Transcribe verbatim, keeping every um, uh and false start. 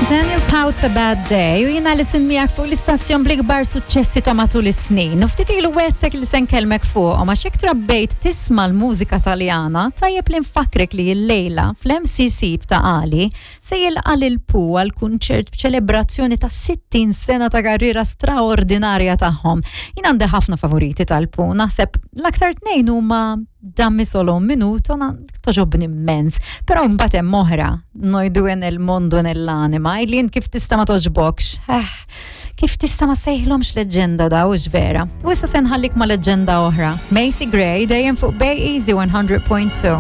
Daniel Powte's A Bad Day u jiena li miegħek fuq l-istazzjon bl-ikbar suċċessi ta' matul is-snin. U ftit ilu wegħedtek li se nkellmek fuq, ma xek trabbejt tisma' l-mużika Taljana, tajjeb li nfakkrek li l-lejla fl-M C C ta' Ali se jilqa' lil Pooh għal kunċert b'ċelebrazzjoni ta' sittin sena ta' karriera straordinarja tagħhom. Jien għandi ħafna favoriti tal-Pooh, naħseb l-aktar tnejn huma Dammi solo un minuto, na togħġobni immens. Però mbagħad hemm oħra, Noi due nel mondo nell'anima, illi jien kif tista' ma togħġbokx. Eh, kif tista' ma sejħlomx leġenda da, hux vera? U issa se nħallik ma' leġenda oħra. Macy Gray, dejjem fuq Bay Easy one hundred point two.